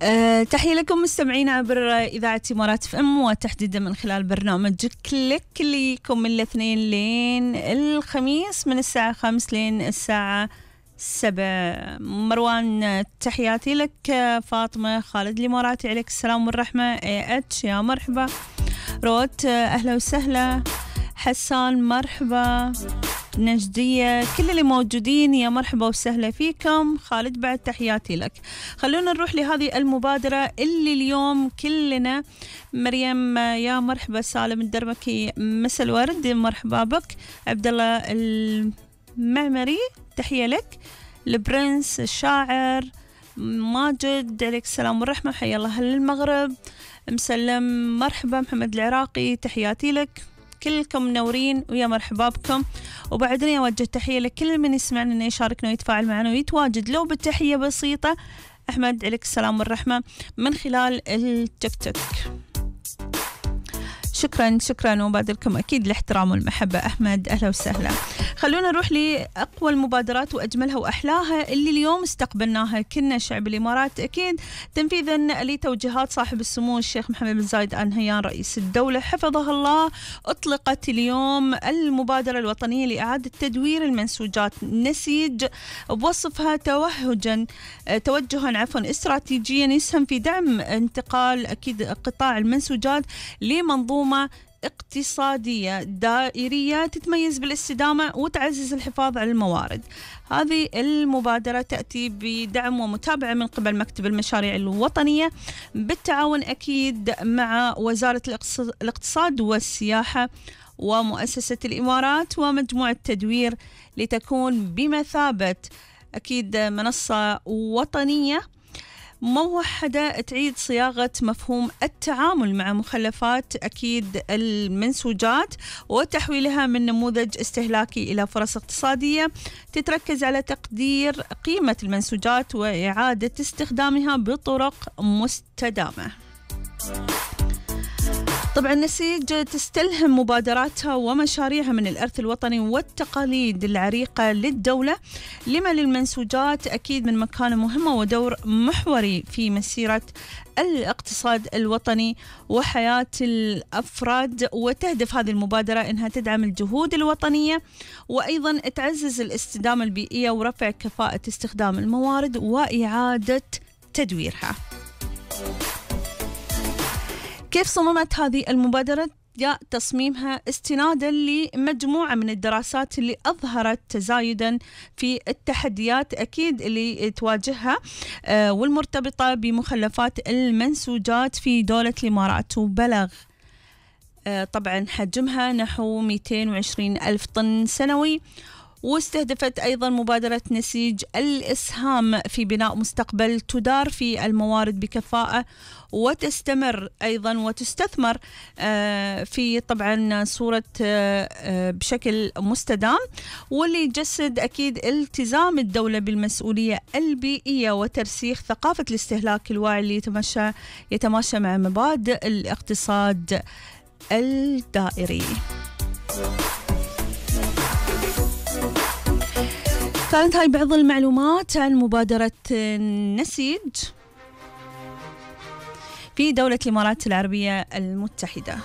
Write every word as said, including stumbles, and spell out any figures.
أه تحية لكم مستمعين عبر إذاعة إمارات اف ام، وتحديدا من خلال برنامج كليك اللي يكون من الاثنين لين الخميس من الساعة خمس لين الساعة سبع. مروان تحياتي لك. فاطمة خالد الإماراتي عليك السلام والرحمة. اي اتش يا مرحبا. روت أهلا وسهلا. حسان مرحبا. نجدية كل اللي موجودين يا مرحبا وسهلا فيكم. خالد بعد تحياتي لك. خلونا نروح لهذه المبادرة اللي اليوم كلنا. مريم يا مرحبا. سالم الدرمكي مسا الورد مرحبا بك. عبد الله المعمري تحية لك. البرنس الشاعر ماجد عليك السلام والرحمة حيا الله أهل المغرب. مسلم مرحبا. محمد العراقي تحياتي لك. كلكم منورين ويا مرحبا بكم. وبعدين أوجه تحية لكل من يسمعنا إنه يشاركنا ويتفاعل معنا ويتواجد لو بالتحية بسيطة. أحمد عليك السلام والرحمة من خلال التيك توك. شكرا شكرا وبادلكم أكيد الاحترام والمحبة. أحمد أهلا وسهلا. خلونا نروح لأقوى المبادرات وأجملها وأحلاها اللي اليوم استقبلناها كنا شعب الإمارات أكيد تنفيذا لتوجيهات صاحب السمو الشيخ محمد بن زايد آل نهيان رئيس الدولة حفظه الله. أطلقت اليوم المبادرة الوطنية لإعادة تدوير المنسوجات نسيج بوصفها توهجا توجها عفوا استراتيجيا يسهم في دعم انتقال أكيد قطاع المنسوجات لمنظومة اقتصادية دائرية تتميز بالاستدامة وتعزز الحفاظ على الموارد. هذه المبادرة تأتي بدعم ومتابعة من قبل مكتب المشاريع الوطنية بالتعاون أكيد مع وزارة الاقتصاد والسياحة ومؤسسة الإمارات ومجموعة تدوير لتكون بمثابة أكيد منصة وطنية موحدة تعيد صياغة مفهوم التعامل مع مخلفات أكيد المنسوجات وتحويلها من نموذج استهلاكي إلى فرص اقتصادية تتركز على تقدير قيمة المنسوجات وإعادة استخدامها بطرق مستدامة. طبعا نسيج تستلهم مبادراتها ومشاريعها من الإرث الوطني والتقاليد العريقة للدولة لما للمنسوجات أكيد من مكانة مهمة ودور محوري في مسيرة الاقتصاد الوطني وحياة الأفراد. وتهدف هذه المبادرة أنها تدعم الجهود الوطنية وأيضا تعزز الاستدامة البيئية ورفع كفاءة استخدام الموارد وإعادة تدويرها. كيف صممت هذه المبادرة؟ جاء تصميمها استنادا لمجموعة من الدراسات اللي أظهرت تزايدا في التحديات أكيد اللي تواجهها آه والمرتبطة بمخلفات المنسوجات في دولة الإمارات. وبلغ آه طبعا حجمها نحو مئتين وعشرين ألف طن سنوي. واستهدفت أيضا مبادرة نسيج الإسهام في بناء مستقبل تدار في الموارد بكفاءة وتستمر أيضا وتستثمر في طبعا صورة بشكل مستدام واللي يجسد أكيد التزام الدولة بالمسؤولية البيئية وترسيخ ثقافة الاستهلاك الواعي اللي يتماشى يتماشى مع مبادئ الاقتصاد الدائري. كانت هاي بعض المعلومات عن مبادرة نسيج في دولة الإمارات العربية المتحدة.